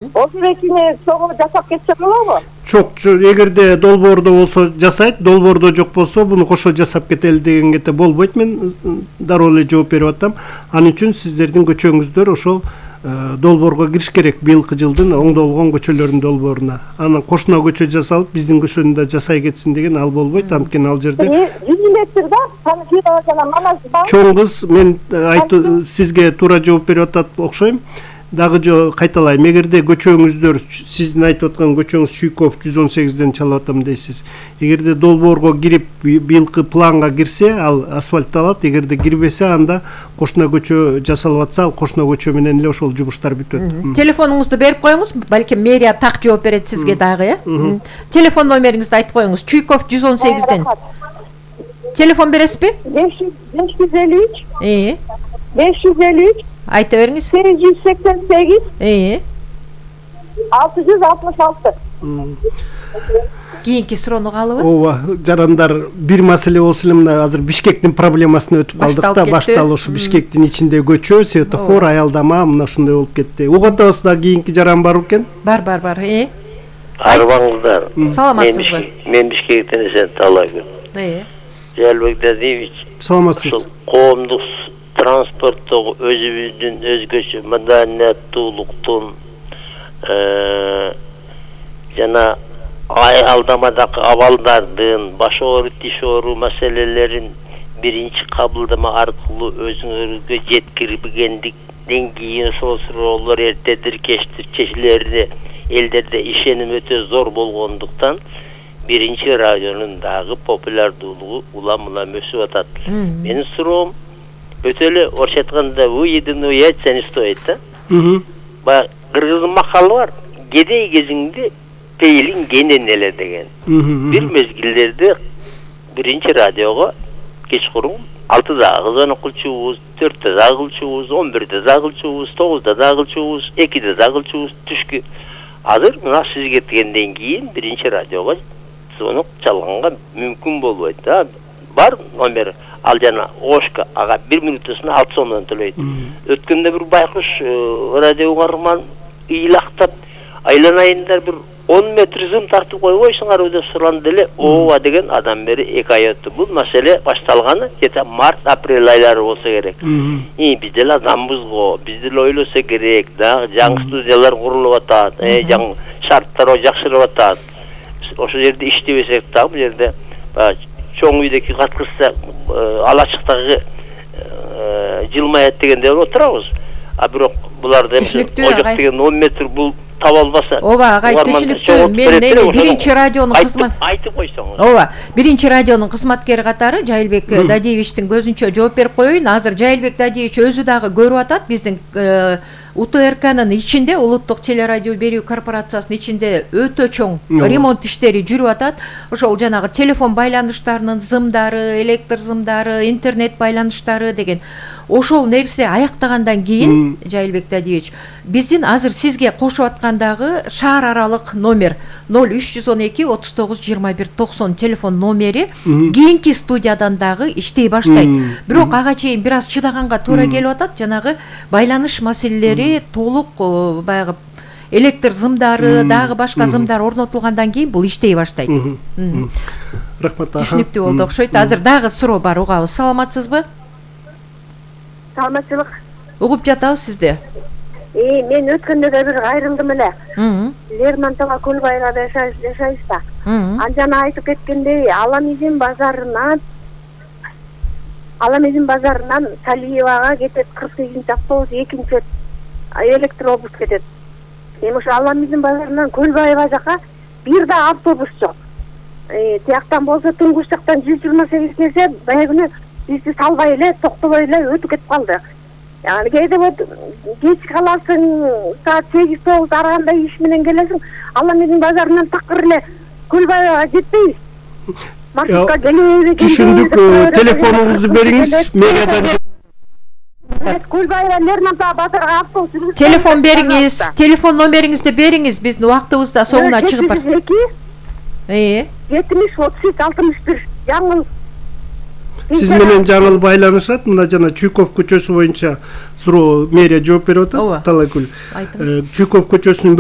Ошолекини чогуу жасап кетсе болобу? Жок, эгерде долбоордо болсо жасайт, долбоордо жок болсо буну кошо жасап кетели дегенге болбойт. Мен дароо эле жооп берип атам. Анын үчүн сиздердин көчөңүздөр ошол долбоорго кириш керек. Быйылкы жылдын оңдолгон көчөлөрдүн долбооруна. Анан кошуна көчө жасалып, биздин көчөнү да жасай кетсин деген ал болбойт. Анткени ал жерде 100 метр да, Санкирова жана Манас бар. Чоң кыз, мен сизге туура жооп берип атат окшойм. Дагы кайталайм, эгерде көчөңүздөр, сиздин айтып аткан көчөңүз Чуйков 118ден чалып атам дейсиз. Эгерде долбоорго кирип, быйылкы планга кирсе, ал асфальтталат. Эгерде кирбесе, анда кошуна көчө жасалып атса, ал кошуна көчө менен эле ошол жумуштар бүтөт. Телефонуңузду берип коюңуз, балким мэрия так жооп берет сизге дагы, Телефон номериңизди айтып коюңуз. Чуйков 118ден. Телефон бересизби? 553. 553. Айта бериңиз. 888. 666. Кийинки суроону каалыбы? Ооба, жарандар, бир маселе болсо эле мына азыр Бишкектин проблемасын өтүп калдык да, башталып ушу Бишкектин ичинде көчө, светофор, аялдама, мына ушундай болуп кетти. Угуп атабызда кийинки жаран бар экен? Бар. Арбаңыздар. Саламатсызбы? Мен Бишкектен эсен талайбын. Жалбек Дадиевич. Саламатсыз. Коомдук транспорттогу өзүбүздүн өзгөчө маданияттуулуктун жана аялдамадагы абалдардын, баш оору, тиш оору маселелерин биринчи кабылдама аркылуу өзүңөргө жеткирбегендиктен кийин ошол суроолор эртедир кечтир чечилерине элдерде ишеним өтө зор болгондуктан биринчи радионун дагы популярдуулугу улам-улам өсүп атат. Менин суроом өтө эле орусча айтканда выеденный яйца не стоит да. Баягы кыргыздын макалы бар. Кедей кезиңде пейлиң кенен эле деген. Бир мезгилдерде биринчи радиого кечкурун 6-дагы кызмат кылчубуз, 4-дө дагы кылчубуз, 11-де дагы кылчубуз, 9-да дагы кылчубуз, 2-де дагы кылчубуз түшкү. Азыр мына сиз кеткенден кийин биринчи радиого звонок чалганга мүмкүн болбойт да. Бар номер, ал жана Ошка, ага 1 минутусуна 6 сомдон төлөйт. Өткөндө бир байкуш радио угарман ыйлактап, айланайындар бир 10 метр зым тартып койбойсуңар деп суранды эле. Ооба деген адам бери 2 ай өттү. Бул маселе башталганы где-то март-апрель айлары болсо керек. Биз деле адамбыз го, биз деле ойлосо керек да, жаңы студиялар курулуп атат, жаңы шарттар жакшырып атат. Ошол жерде иштебесек да, бул жерде чоң үйдөгү каткырса алачыктагы жылмаят дегенде отурабыз. А бирок буларды ожок деген 10 метр бул таба албаса. Ооба, агай түшүнүктүү. Мен биринчи радионун кызмат айтып койсоңуз. Ооба, биринчи радионун кызматкери катары Жайылбек Дадиевичтин көзүнчө жооп берип коеюн. Азыр Жайылбек Дадиевич өзү дагы көрүп атат биздин УТРКнын ичинде, улуттук телерадио берүү корпорациясынын ичинде өтө чоң ремонт иштери жүрүп атат. Ошол жанагы телефон байланыштарынын зымдары, электр зымдары, интернет байланыштары деген ошол нерсе аяктагандан кийин Жайылбек Дадиевич биздин азыр сизге кошуп аткандагы шаар аралык номер 0312 39 21 90 телефон номери кийинки студиядан дагы иштей баштайт. Бирок ага чейин бир аз чыдаганга туура келип атат. Жанагы байланыш маселелери толук баягы электр зымдары, дагы башка зымдар орнотулгандан кийин бул иштей баштайт. Рахмат. Түшүнүктүү болду окшойт. Азыр дагы суроо бар, угабыз. Саламатсызбы? Саламатчылык. Угуп жатабыз сизди. Мен өткөндө да бир кайрылдым эле. Лермонтова Көлбайга жашайбыз да. Анжана айтып кеткендей, Аламизин базарынан Салиевага кетет 48-чи автобус, экинчи электробус кетет. Эми ошо Аламизин базарынан Көлбайга жака бир да автобус жок. Тияктан болсо Туңгуш жактан 128 келсе, баягы бизди салбай эле, токтобой эле өтүп кетип калды. Yani кейде кеч каласың, саат 8-9 арагандай иш менен келесиң, Аламизин базарынан такыр эле Көлбайга жетпейбиз. Маршрутка келебиз. Түшүндүк. Телефонуңузду бериңиз. Мэриядан Көлбайга Лермонтова базарга автобус. Телефон бериңиз. Телефон номериңизди бериңиз. Биздин убактыбызда соңуна чыгып бар. 70 33 61. Жаңыл Сиз менен жаңыл байланышат. Мына жана Чуйков көчөсү боюнча суроо мэрия жооп берип атат. Талайгүл. Чуйков көчөсүнүн